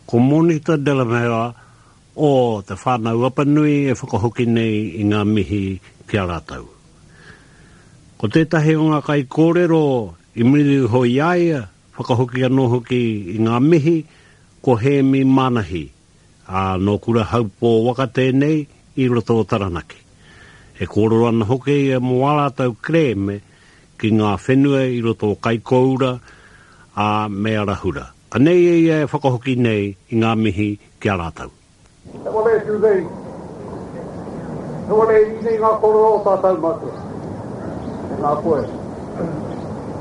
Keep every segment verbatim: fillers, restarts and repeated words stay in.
Ko Monita Delamere o Te Whānau Apanui e whakahoki nei i ngā mihi ki a rātou. Ko tētahi o ngā kaikōrero i muri iho i a ia, whakahoki anō hoki i ngā mihi, ko Hēmi Manahi, ā, nō Kurahaupō waka tēnei i roto o Taranaki. E kōrero ana hoki ia mō ā rātou kerēme ki ngā whenua i roto o Kaikōura, ā, me Arahura. Anei e ia e whakahoki nei i ngā mihi ki a rātou. He wale e tū nei, he wale e iri nei ngā kōrero o tātou mātua. Tēnā koe,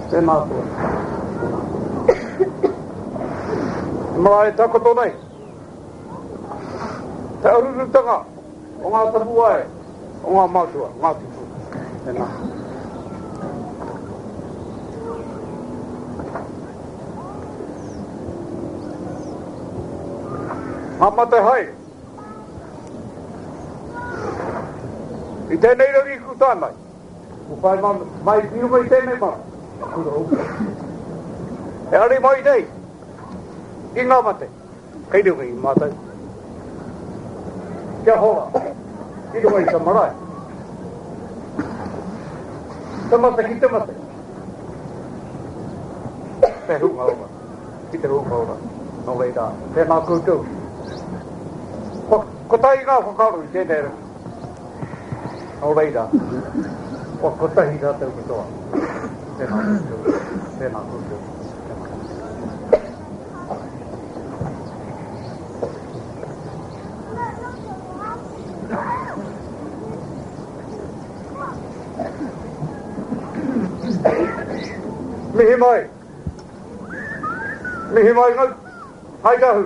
tēnā koe, tēnā koe. He marae e takoto nei, te arurutanga o ngā tapuwae o ngā mātua, ngā tūpuna. Tēnā. Ngā mate hai. I tēnei rangi ku tae mai. Ku whai mai ki runga i tēnei mara. Kura uku. E ari mai nei i ngā mate. Kei runga i mātou. Kia hora i runga i te marae. Te mate ki te mate. Te hunga ora. Ki te hunga ora. Nō reira, tēnā koutou. Kua kotahi ngā whakaaro i tēnei rangi. Nō reira, kua kotahi rātou katoa. Tēnā koutou, tēnā koutou, tēnā koutou. Mihi mai. Mihi mai ngau. Hai tahu.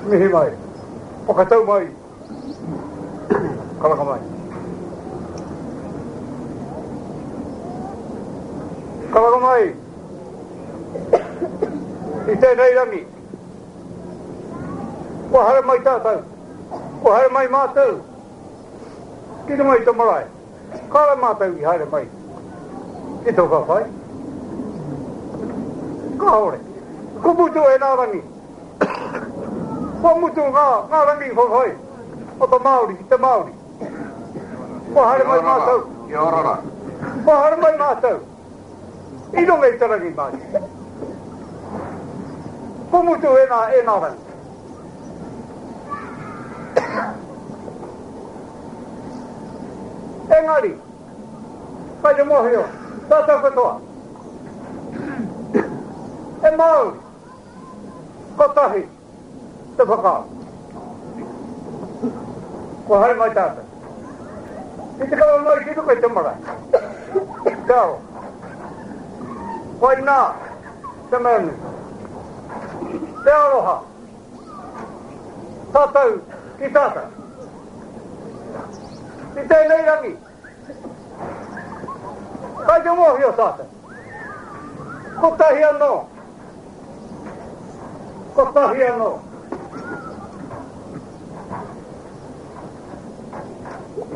Mihi mai. Whakatau mai. Karanga mai. Karanga mai. I tēnei rangi. Kua haere mai tātou. Kua haere mai mātou. Ki runga i te marae. Kāre mātou i haere mai ki tō whawhai. Kāore. Ko mutu e nā rangi. Kua mutu ngā, ngā rangi whawhai o te Māori ki te Māori. Kua haere mai mātou. Kia ora rā. Kua haere mai mātou. I runga i te rangi mātou. Ko mutu e nā, e nā rangi. Engari, kai te mōhio, tātou katoa, e Māori, kotahi te whakaaro. Kua haere mai tātou. Ki te kawe mai ki runga i te marae. Te aro. Koinā te mea nui. Te aroha. Tātou ki tātou. I tēnei rangi, kai te mōhio tātou. Kotahi anō. Kotahi anō.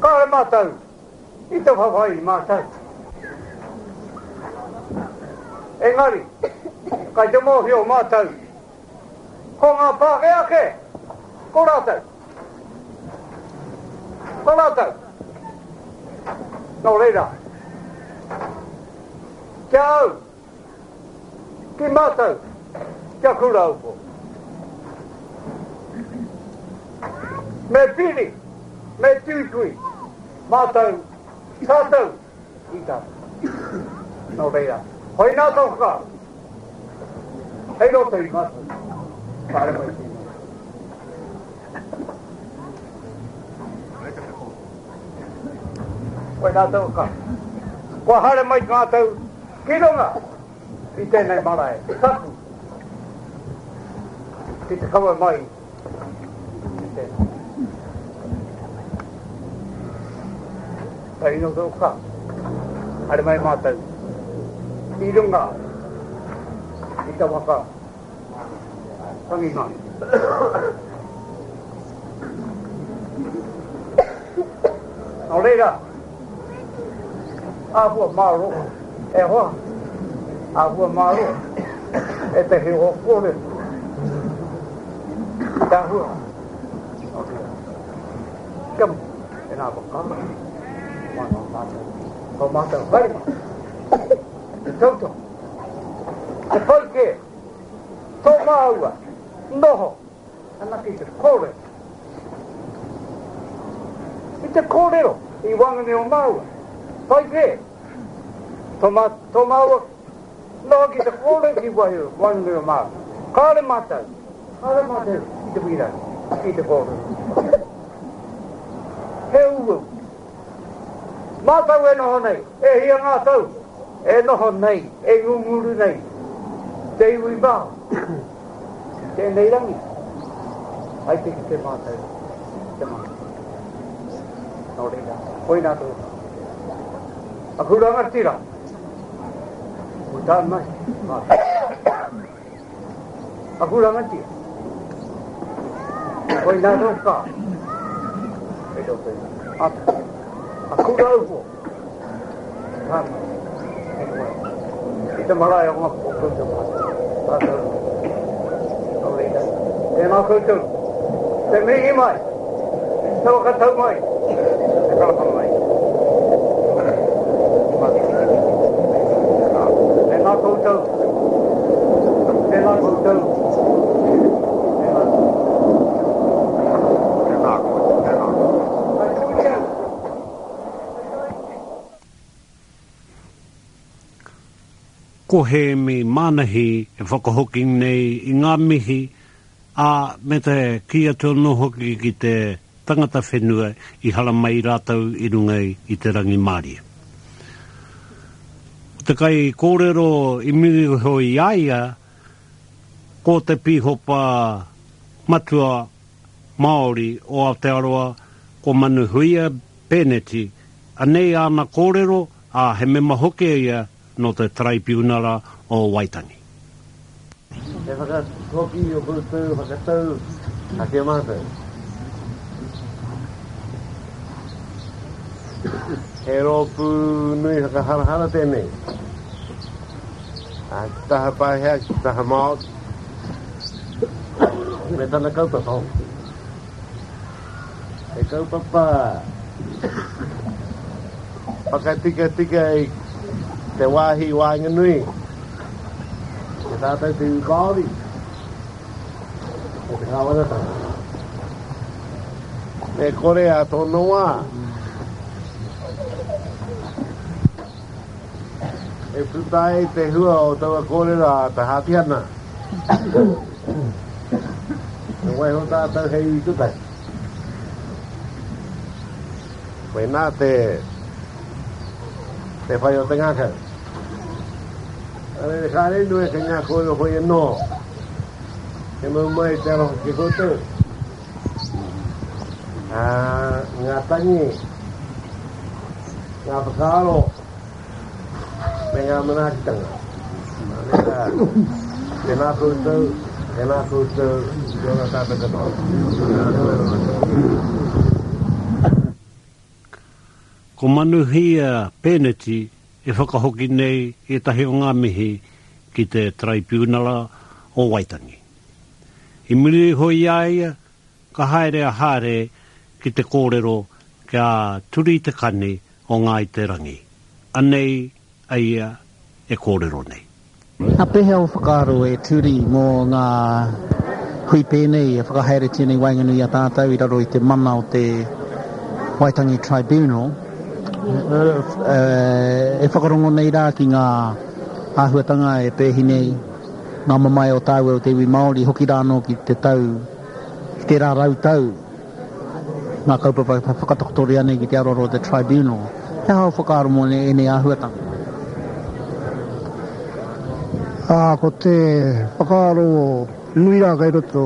Kāre mātou i te whawhai i mātou. Engari, kai te mōhio mātou ko ngā Pākehā kē, ko rātou. Ko rātou. Nō reira, ki a au, ki mātou, kia Kurahaupō. Me piri, me tuitui, mātou, tātou, i tātou. Nō reira, koinā tō whakaaro. Hei roto i mātou. Kāre mai tēnei. Koinā tō whakaaro. Kua haere mai mātou ki runga i tēnei marae tapu ki te kawe mai i tēnei. Hei roto ka haere mai mātou i runga i te waka tangi mai. Nō reira, āhua mārō, e hoa, āhua mārō. Ētahi o kōrero. Tāhua. Kia e nā whakaaro. Māna o mātou. Ko mātou haere. Te tautoko. Te pai kē. Tō māua. Noho. Anake te kōrero. I te kōrero i waenganui o māua. Pai kē. Tō, mā, tō māua noho ki te kōrero ki waenganui o māua. Kāre mātou. Kāre mātou i te wīrau. Ki te kōrero. He uau. Mātou e noho nei. E hia ngā tau. E noho nei. E ngunguru nei. Te iwi Māori. Tēnei rangi. Ai te ki te mātou. Te mātou. Nō reira. Koina tō. Aku rangatira. Ko tā mai. Mātou. Aku rangatira. Koina tō kā. E tō pēnā. Ata. Aku raupo. Tā mai. E koe. I te marae o ngā o koutou mātou. Tātou. Nō reira. Tēnā koutou. Te mihi mai. Te whakatau mai. Te karanga mai. Tēnā koutou. Tēnā koutou. Tēnā. Tēnā koe, tēnā. Ko Hēmi Manahi e whakahoki nei i ngā mihi, a me te kī atu anō hoki ki te tangata whenua i haramai rātou i runga i te rangimārie. Ko te kai kōrero i muri iho i a ia, ko te pīhopa matua Māori o Aotearoa, ko Manuhuia Pēneti, anei āna kōrero, a he mema hoki ia nō te Taraipiunara o Waitangi. He whakahoki o koutou whakatau ake mātou. He rōpū nui whakaharahara tēnei. A ki taha Pākehā, ki taha Māori, me tana kaupapa hoki. He kaupapa whakatikatika i te wāhi waenganui. Te tātou te iwi Māori, me te kāwanatanga. Me kore a tōna wā. E puta ai te hua o taua kōrero a te Hāpihana. Me waiho tātou hei iwi kotahi. Koinā te, te whai o te ngākau. Arere kāre nui ke ngā kōrero hoi anō. He mau mai te aroha ki koutou. Ā, ngā tangi, ngā whakaaro, me ngā manaakitanga. Nā reira, tēnā koutou, tēnā koutou, kia ora tātou katoa. Ko Manuhia Pēneti e whakahoki nei ētahi o ngā mihi ki te Taraipiunara o Waitangi. I muri iho i a ia, ka haere a Hāre ki te kōrero kia turi te kani o Ngāi Te Rangi. Anei a ia e kōrero nei. Nā pēhea o whakaaro e turi mō ngā hui pēnei e whakahaeretia nei waenganui i a tātou i raro i te mana o te Waitangi Tribunal, e whakarongo nei rā ki ngā āhuatanga e pēhi nei, ngā mamae o tāua o te iwi Māori, hoki rā anō ki te tau, ki tērā rau tau, ngā kaupapa e whakatakotoria nei ki te aroaro o te Tribunal. He aha o whakaaro mō ēnei āhuatanga? Ā, ko te whakaaro nui rā kei roto,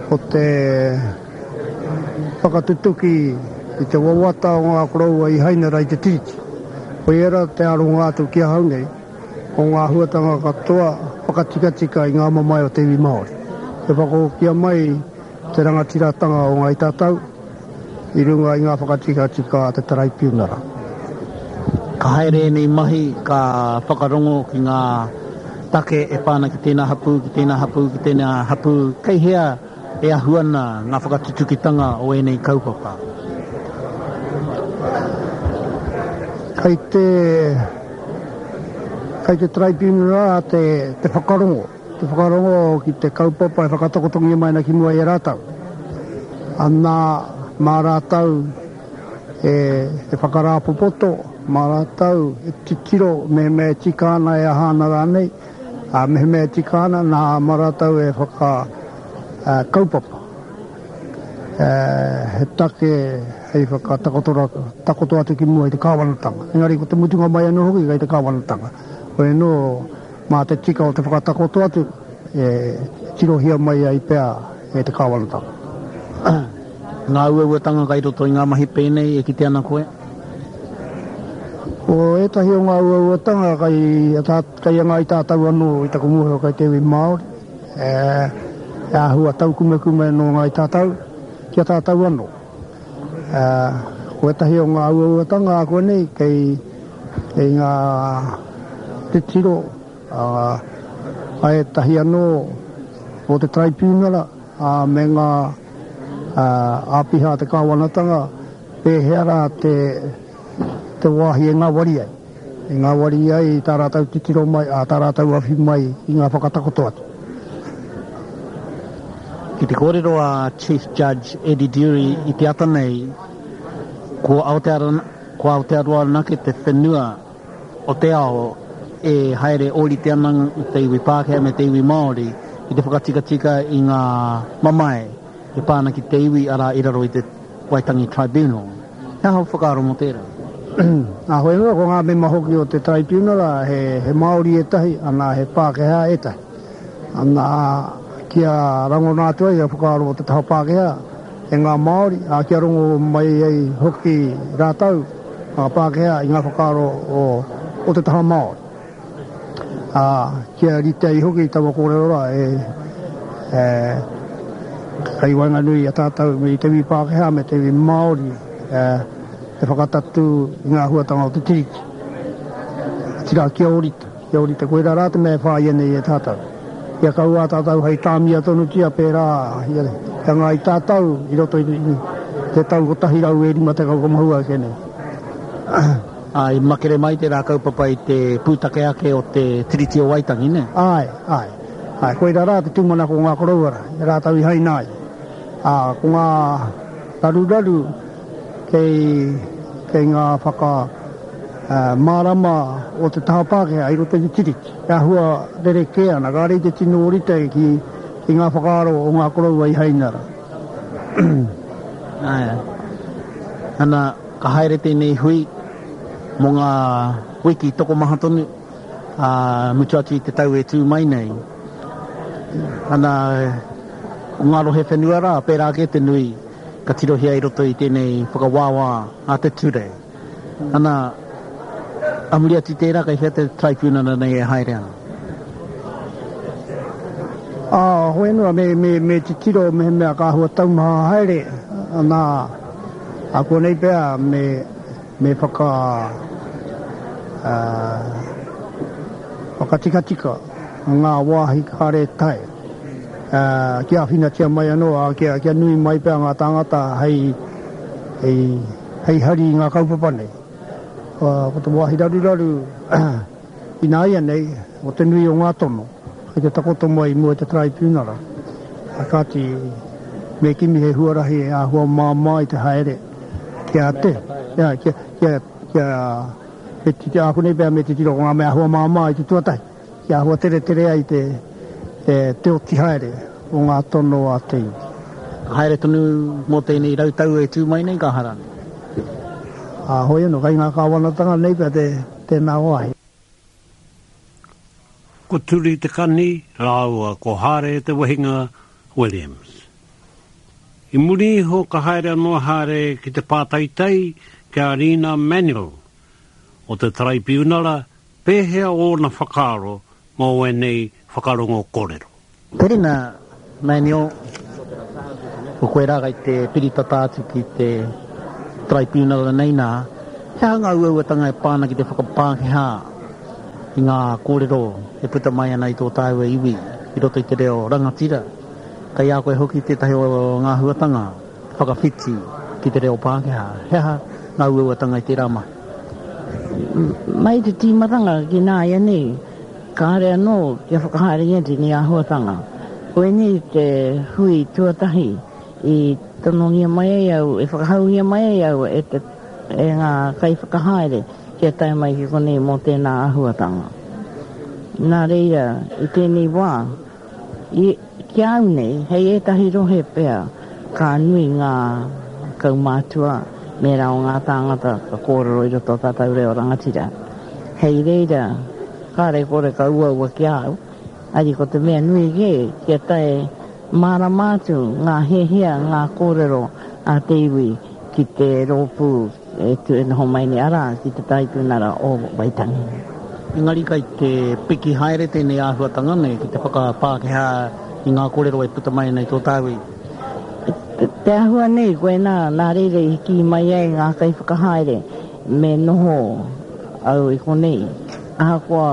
ko te whakatutuki i te wawata o ngā koroua i haina rā i te tiriti. Koia rā te aronga atu ki ahau nei, o ngā āhuatanga katoa whakatikatika i ngā mamae o te iwi Māori. Te whakahokia mai te rangatiratanga o Ngāi Tātou i runga i ngā whakatikatika a te Taraipiunara. Ka haere ēnei mahi, ka whakarongo ki ngā take e pā ana ki tēnā hapū, ki tēnā hapū, ki tēnā hapū, kei hea e ahu ana ngā whakatutukitanga o ēnei kaupapa? Kei te, kei te taraipiunara te, te whakarongo, te whakarongo ki te kaupapa e whakatakotongia mai ana ki mua i a rātou. Ana, mā rātou e, e whakarāpopoto, mā rātou e titiro mehemea e tika ana e aha ana rānei, a mehemea e tika ana nā mā rātou e whaka uh, kaupapa. Uh, he take hei whakatakoto takoto atu ki mua i te kāwanatanga. Engari ko te mutunga mai anō hoki kei te kāwanatanga. Koe anō mā te tika o te whakatakoto atu e tirohia mai ai pea e te kāwanatanga. Ngā uauatanga kai roto i ngā mahi pēnei e kite ana koe? Ko ētahi o ngā uauatanga kai, kai a ngāi tātou anō i taku mōhio kai te iwi Māori. E, e āhua taukumekume nō ngāi tātou, ki a tātou anō. E, ko ētahi o ngā uauatanga a koe nei kei, kei ngā titiro a, a ētahi anō o te taraipiunara a, me ngā a, āpiha te kāwanatanga pēhea rā te, te wāhi e ngāwari ai. E ngāwari ai tā rātou titiro mai, a tā rātou awhi mai i ngā whakatakoto atu. Ki te kōrero a Chief Judge Eddie Durie i te ata nei, ko Aotearoa, ko Aotearoa anake te whenua o te ao e haere ōrite ana te iwi Pākehā me te iwi Māori ki te whakatikatika i ngā mamae e pā ana ki te iwi arā i raro i te Waitangi Tribunal. He aha o whakaaro mō tērā? Nā hoi anō, ko ngā mema hoki o te tribunal, he, he Māori ētahi, ana he Pākehā ētahi. Ana, kia rangona atu ai a whakaaro o te taha Pākehā e ngā Māori, a kia rongo mai ai hoki rātou, ngā Pākehā, i ngā whakaaro o, o te taha Māori. A, kia rite ai hoki taua kōrero rā e, e, kai waenganui a tātou me te iwi Pākehā me te iwi Māori, e, te whakatatū i ngā huatanga o te tiriti. Tira kia ōrite, kia ōrite koirā rā te mea e whāia nei e tātou. Kia kaua tātou hei tāmia tonutia pērā ia, kia ngāi tātou i roto i, i te tau kotahi rau e rima tekau ka mahua ake nei. Ā, i makere mai tērā kaupapa i te pūtake ake o te Tiriti o Waitangi, nē? Āe, āe. Āe, koirā rā te tūmanako o ngā koroua rā, i rātou i haina ai. Ā, ko ngā raruraru kei, kei ngā whaka uh, mārama o te taha Pākehā i roto i te tiriti. E āhua rerekē ana, kāre i te tino ōrite ki, ki ngā whakaaro o ngā koroua i haina rā. Āe. Ana, ka haere tēnei hui mō ngā wiki tokomaha tonu, ā, mutu atu i te tau e tū mai nei. Ana, ko ngā rohe whenua rā, pērā ake te nui, ka tirohia i roto i tēnei whakawāwā a te ture. Ana, a muri atu tērā, kei hea te tribunal nei e haere ana? Ā, hoi anō, me, me, me titiro mehemea ka āhua taumaha haere, ana, a konei pea me, me whaka, uh, whakatikatika ngā wāhi kāre tae. Uh, kia āwhinatia mai anō, a, kia, kia nui mai pea ngā tāngata hei, hei, hei hari i ngā kaupapa nei. Uh, ko te wāhi raruraru ināianei, o te nui o ngā tono, kei te takoto mai i mua i te tribunal. A kāti, me kimi he huarahi e āhua māmā i te haere, kia te, kia, kia, kia, kia, me titi, ākonei pea me titiro ko ngā mea āhua māmā i te tuatahi, kia āhua tere tere ai te, te, te oti haere o ngā tono a te iwi. Ka haere tonu mō tēnei rautau e tū mai nei ka hara? Ā, hoi anō, kai ngā kāwanatanga nei pea te, tēnā wāhi. Ko Turi Te Kani rāua ko Hāre Te Wehinga Williams. I muri iho ka haere anō Hāre ki te pātaitai ki a Rina Manuel o te Taraipiunara pēhea ōna whakaaro mō ēnei whakarongo kōrero. Rina Manuel, ko koe rā kai te piritata atu ki te tribunal nei nā, he aha ngā uauatanga e pā ana ki te whakapākehā i ngā kōrero e puta mai ana i tō tāua iwi i roto i te reo rangatira. Kei a koe hoki tētahi o ngā huatanga whakawhiti ki te reo Pākehā. He aha ngā uauatanga i tērā mahi? Mai te tīmatanga ki nāianei, kāre anō kia whakahaerengia tēnei āhuatanga. Koinei te hui tuatahi i tonongia mai ai au, e whakahaungia mai ai au e, te, e ngā kaiwhakahaere kia tae mai ki konei mō tēnā āhuatanga. Nā reira, i tēnei wā, i, ki au nei, hei ētahi rohe pea, ka nui ngā kaumātua, me rā o ngā tāngata ka kōrero i roto o tātou reo rangatira. Hei reira, kāre kore ka uaua ki au, ari ko te mea nui kē, kia tae mārama atu ngā hiahia, ngā kōrero a te iwi ki te rōpū e tu e noho mai nei, arā, ki te Taraipiunara o Waitangi. Engari kai te piki haere tēnei āhuatanga nei ki te whakapākehā i ngā kōrero e puta mai nei tō tāu iwi. Te, te āhua nei, koinā, nā reira i kī mai ai ngā kaiwhakahaere me noho au i konei. Ahakoa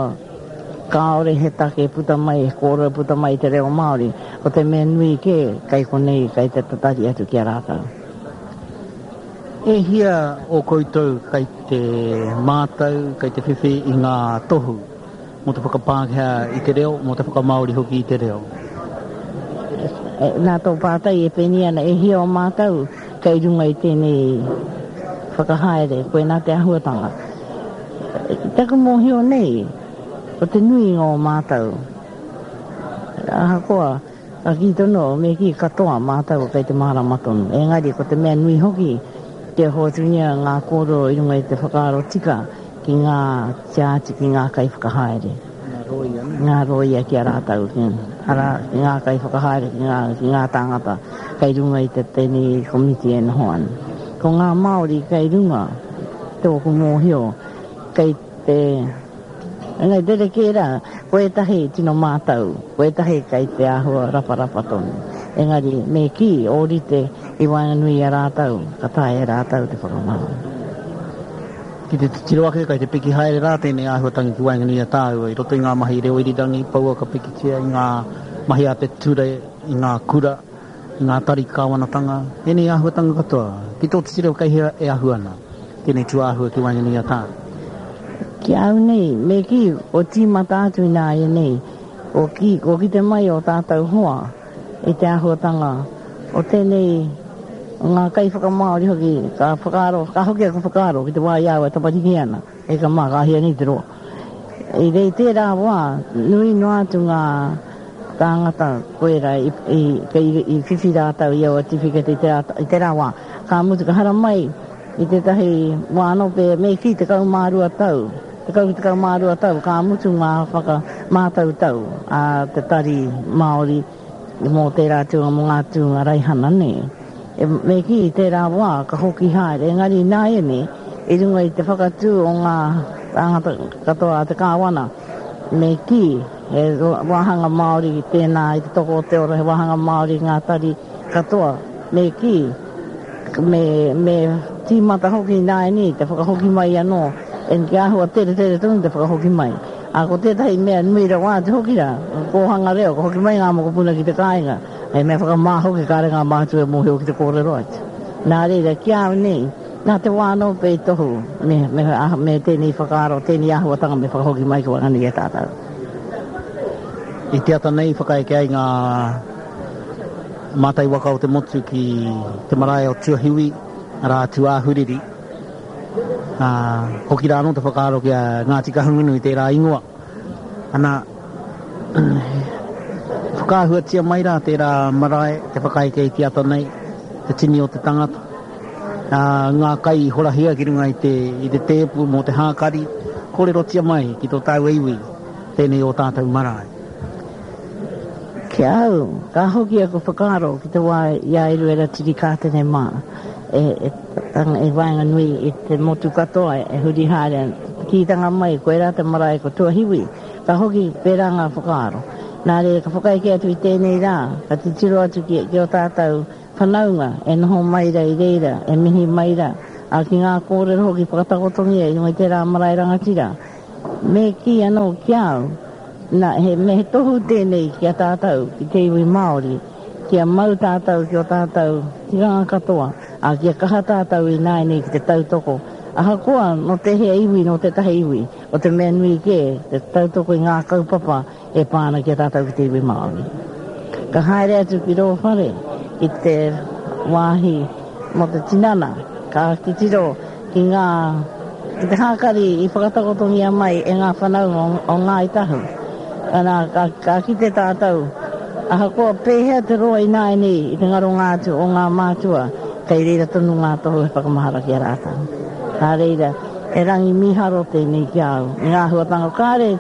kāore he take puta mai, he kōrero puta mai i te reo Māori, ko te mea nui kē, kai konei, kai te tatari atu ki a rātou. E hia o koutou kai te mātau, kai te whiwhi i ngā tohu mō te whakapākehā i te reo, mō te whakamāori hoki i te reo? Nā tō pātai e pēnei ana, e hia o mātou kei runga i tēnei whakahaere, koinā te āhuatanga. Taku mōhio nei, ko te nuinga o mātou. Ahakoa, ka kī tonu, me kī katoa mātou kei te mārama tonu. Engari, ko te mea nui hoki, kia hoatungia ngā kōrero i runga i te whakaaro tika ki ngā tiāti, ki ngā kaiwhakahaere. Ngā rōia, ne? Ngā rōia ki a rātou, ki, arā, ki ngā kaiwhakahaere, ki ngā, ki ngā tāngata kei runga i te tēnei komiti e noho ana. Ko ngā Māori kei runga, tōku mōhio, kei te... Engari, rerekē rā, ko ētahi tino mātau, ko ētahi kei te āhua raparapa tonu. Engari, me kī, ōrite i waenganui i a rātou, ka taea e rātou te whakamāori. Ki te titiro ake, kai te piki haere rā tēnei āhuatanga ki waenganui i a tāua, i roto i ngā mahi reo irirangi, pouaka pikitia, i ngā mahi a te ture, i ngā kura, i ngā tari kāwanatanga, ēnei āhuatanga katoa. Ki tō titiro kei hea e ahu ana tēnei tūāhua ki waenganui i a tāua? Ki au nei, me kī, o tīmata atu ināianei, o ki, o kite mai o tātou hoa i te āhuatanga o tēnei ngā kaiwhakamāori hoki, ka whakaaro, ka hoki aku whakaaro ki te wā i a au e tamariki ana, e ka mā, ka hia nei te roa. I rei tērā wā, nui noa atu ngā tāngata koera i, i, i, i whiwhi rātou i aua tiwhikete i tērā, i tērā wā. Ka mutu, ka haramai i tētahi wā anō pē, me kī tekau mā rua tau, tekau ki tekau mā rua tau, ka mutu ngā whakamātautau a te Tari Māori mō tērā tūnga, mō ngā tūnga raihana nei. E, me kī, i tērā wā, ka hoki haere, engari ināianei, i runga i te whakatū o ngā tāngata katoa a te kāwana, me kī, he wāhanga Māori tēnā i te toko o te ora, he wāhanga Māori ngā tari katoa, me kī, me, me tīmata hoki ināianei te whakahoki mai anō, en ki āhua tere tere tonu te whakahoki mai. A ko tētahi mea nui rawa atu hoki rā, kōhanga reo, ka hoki mai ngā mokopuna ki te kāinga, he mea whakamā hoki kāre ngā mātua e mōhio ki te kōrero atu. Nā reira, ki a au nei, nā te wā anō pea i tohu, me, me, me tēnei whakaaro, tēnei āhuatanga me whakahoki mai ki waenganui i a tātou. I te ata nei whakaeke ai ngā mātai waka o te motu ki te marae o Tuahiwi, arā Tūāhuriri. Ā, hoki rā anō te whakaaro ki a Ngāti Kahungunu i tērā ingoa. Ana, whakaahuatia mai rā tērā marae, te whakaeke i te ata nei, te tini o te tangata. Ā, ngā kai i horahia ki runga i te, i te tēpu mō te hākari, kōrerotia mai ki tō tāua iwi, tēnei o tātou marae. Ki a au, ka hoki aku whakaaro ki te wā i a Eruera Tirikātene mā, e, e, e waenganui i te motu katoa e huri haere ana. Te kītanga mai, koirā te marae ko Tuahiwi, ka hoki pērā ngā whakaaro. Nā reira, ka whakaeke atu i tēnei rā, ka titiro atu ki, ki o tātou whanaunga e noho mai rā i reira, e mihi mai rā, ā, ki ngā kōrero hoki whakatakotongia i runga i tērā marae rangatira. Me kī anō ki a au, nā, he, me he tohu tēnei ki a tātou, ki te iwi Māori, kia mau tātou ki o tātou tikanga katoa, ā, kia kaha tātou ināianei ki te tautoko. Ahakoa nō tēhea iwi, nō tētahi iwi, o te mea nui kē, te tautoko i ngā kaupapa e pā ana ki a tātou ki te iwi Māori. Ka haere atu ki rō whare, ki te wāhi mō te tinana, ka titiro ki ngā, ki te hākari i whakatakotongia mai e ngā whanaunga o Ngāi Tahu. Ana, ka, ka kite tātou, ahakoa pēhea te roa ināianei i te ngaronga atu o ngā mātua, kei reira tonu ngā tohu he whakamahara ki a rātou. Nā reira, he rangi mīharo tēnei ki a au, i ngā āhuatanga kāre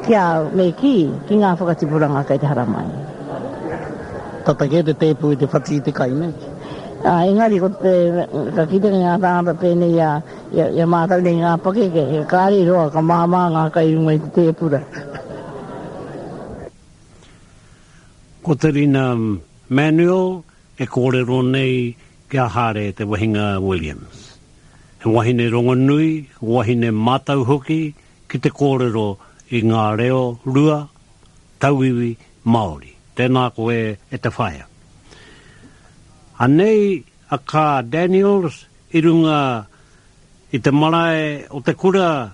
ki a au, me kī, ki ngā whakatipuranga kei te haramai. Tata kē te tēpu i te whati i te kai, nē? Ā, engari ko te, ka kite ki ngā tāngata pēnei i a, i a, i a mātou nei ngā pakeke, he kāre i roa ka māmā ngā kai i runga i te tēpura. Ko Te Rina Manuel e kōrero nei ki a Hāre Te Wehinga Williams. He wahine rongonui, wahine mātau hoki ki te kōrero i ngā reo rua, tauiwi, Māori. Tēnā koe e te whaea. Anei a Kaa Daniels i runga i te marae o te kura,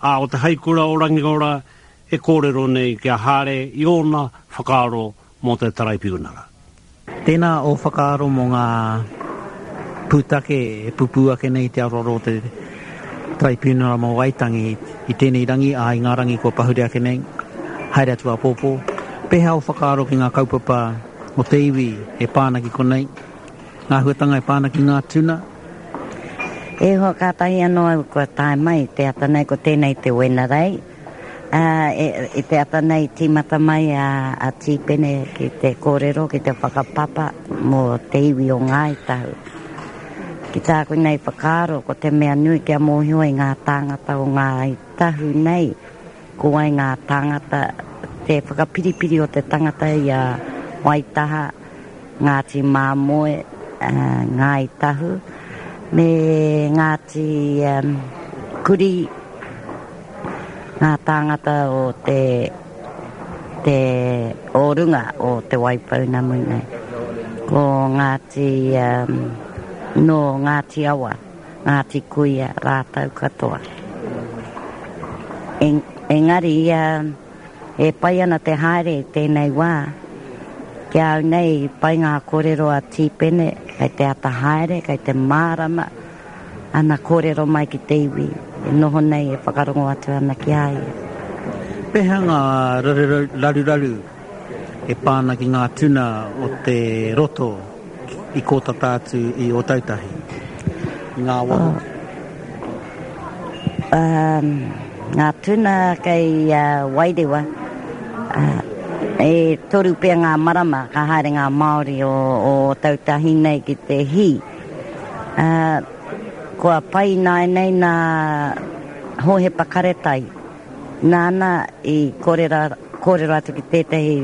ā, o te haikura o Rangiora e kōrero nei ki a Hāre i ōna whakaaro mō te Taraipiunara. Tēnā ō whakaaro mō ngā pūtake e pupū ake nei i te aroaro o te Taraipiunara mō Waitangi i tēnei rangi, ā, i ngā rangi kua pahure ake nei, haere atu āpōpō. Pēhea ō whakaaro ki ngā kaupapa o te iwi e pā ana ki konei, ngā āhuatanga e pā ana ki ngā tuna? E hoa, kātahi anō au kua tae mai te ata nei, ko tēnei te Wenerei. Ā, i te ata nei tīmata mai a Tīpene ki te kōrero, ki te whakapapa mō te iwi o Ngāi Tahu. Ki tāku nei whakaaro, ko te mea nui kia mōhio ai ngā tāngata o Ngāi Tahu nei, ko wai ngā tāngata, te whakapiripiri o te tangata i a Waitaha, Ngāti Māmoe, Ngāi Tahu, me Ngāti Kurī, ngā tāngata o te, te, o runga o Te Waipounamu nei. Ko Ngāti, nō Ngāti Awa, Ngāti Kuia rātou katoa. Engari, e pai ana te haere i tēnei wā. Ki a au nei, pai ngā kōrero a Tīpene, kei te ata haere, kei te mārama ana kōrero mai ki te iwi e noho nei e whakarongo atu ana ki a ia. Pēhea ngā raruraru e pā ana ki ngā tuna o te roto i kō tata atu i Ōtautahi, i ngā awa hoki? Ngā tuna kei Wairewa, e toru pea ngā marama ka haere ngā Māori o Ōtautahi nei ki te hī. Kua pai ināianei nā Hōhepa Karetai, nāna i kōrero atu ki tētahi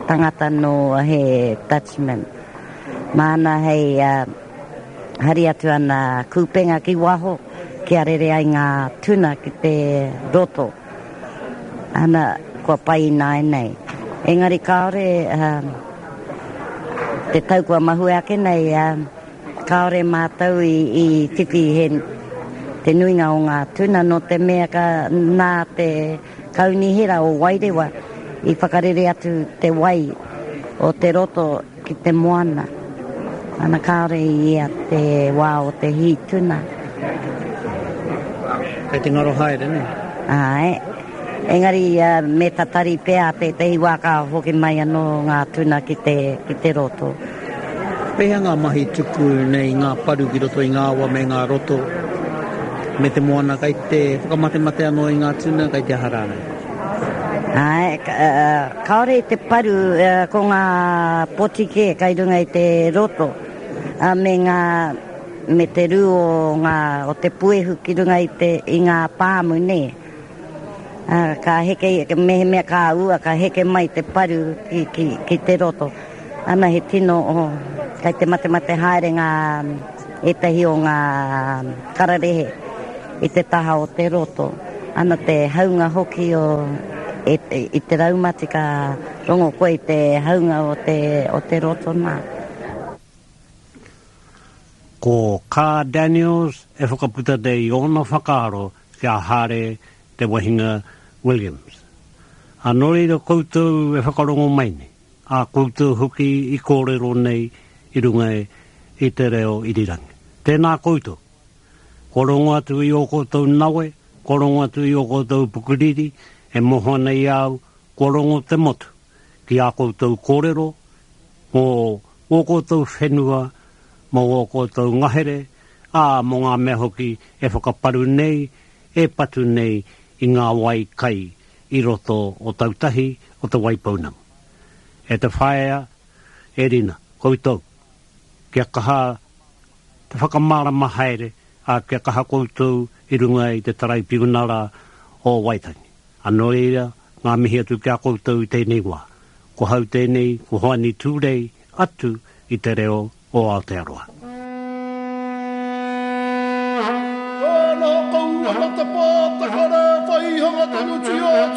tangata nō he Dutchman. Māna hei hari atu ana kūpenga ki waho kia rere ai ngā tuna ki te roto. Ana, kua pai ināianei. Engari kāore te tau kua mahue ake nei, Kāore mātou i whiwhi he te nuinga o ngā tuna nō te mea ka nā te kaunihera o Wairewa i whakarere atu te wai o te roto ki te moana. Ana kāore i ea te wā o te hī tuna. Kei te ngaro haere, nē? Āe. Engari me tatari pea tētehi wā ka hoki mai anō ngā tuna ki te, ki te roto. Pēhea ngā mahi tuku nei ngā paru ki roto i ngā awa me ngā roto me te moana kei te whakamatemate anō i ngā tuna, kei te aha rānei? Āe, kāore i te paru, ko ngā poti kē kei runga i te roto, me ngā, me te rū o ngā, o te puehu ki runga i te, i ngā pāmu nē. Ā, ka heke, mehemea ka ua, ka heke mai te paru ki, ki, ki te roto. Ana he tino, oh, kei te matemate haere ngā, ētahi o ngā kararehe i te taha o te roto. Ana te haunga hoki o e, e, i te raumati ka rongo koe i te haunga o te, o te roto nā. Ko Kaa Daniels e whakaputa nei i ōna whakaaro ki a Hare Te Wahinga Williams. A nō reira koutou e whakarongo mai nei, a koutou hoki i kōrero nei i runga i te reo irirangi. Tēnā koutou. Kua rongo atu i ō koutou nawe, kua rongo atu i ō koutou pukuriri, e moho ana i a au, kua rongo te motu ki ā koutou kōrero mō ō koutou whenua, mō ō koutou ngahere, ā, mō ngā mea hoki e whakaparu nei, e patu nei i ngā wai kai i roto o Tautahi o Te Waipounamu. E te whaea, e Rina, koutou, kia kaha te whakamārama haere, ā, kia kaha koutou i runga i te Taraipiunara o Waitangi. Ā, nō reira, ngā mihi atu ki a koutou i tēnei wā. Ko hau tēnei, ko Hoani Tūrei atu i te reo o Aotearoa. Ka noho kau ana te pātakara, whaihanga tonutia